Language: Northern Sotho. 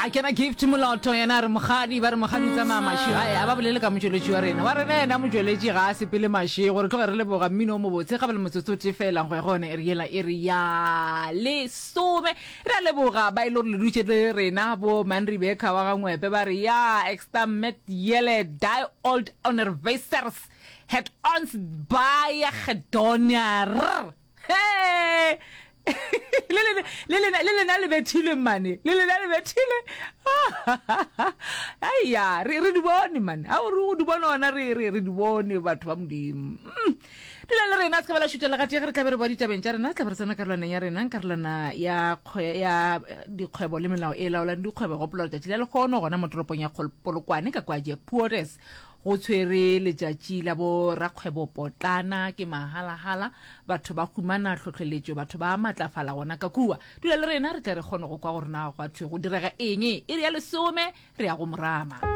A kena Gift Moloto yena a re mokgadi ba re mokgadi o tsamaya mašego ae a ba bolele ka motšweletši wa rena wa rena yena motšweletši ga a sepele mašego re tloge re leboga mmino o mobotse ga ba le motsotso o tee fela go ya go yona iri yela iri ya lesome re a leboga ba e le gore le dutše le rena bo Man Rebecca wa ga Ngwepe ba re ya extra met yele die old onderwysers het ons baie gedoneer Hee! Le lena, le lena, le lena le bethilwe mane. Le lena le bethile. Aiya, re re di bone mane. A o re o di bone ona re re re di bone batho ba Modimo. Mm. Dula le rena se ka ba la šutha le gatee ge re tla be re boa ditabeng tša rena, re tla be re tsena karolwaneng ya rena, karolwana ya kgwe ya dikgwebo le melao e laolang dikgwebo. Gopola letšatši la lehono gona mo toropong ya Polokwane ka kwa Jeppures Go tshwere letšatši la bo rakgwebo potlana, ke mahalahala, batho ba humana hlohleletšo, batho ba matlafala gona ka kua. Dula le rena re tle re kgone go kwa gore na gwa thwe go direga eng. Iri ya lesome, re ya go morama.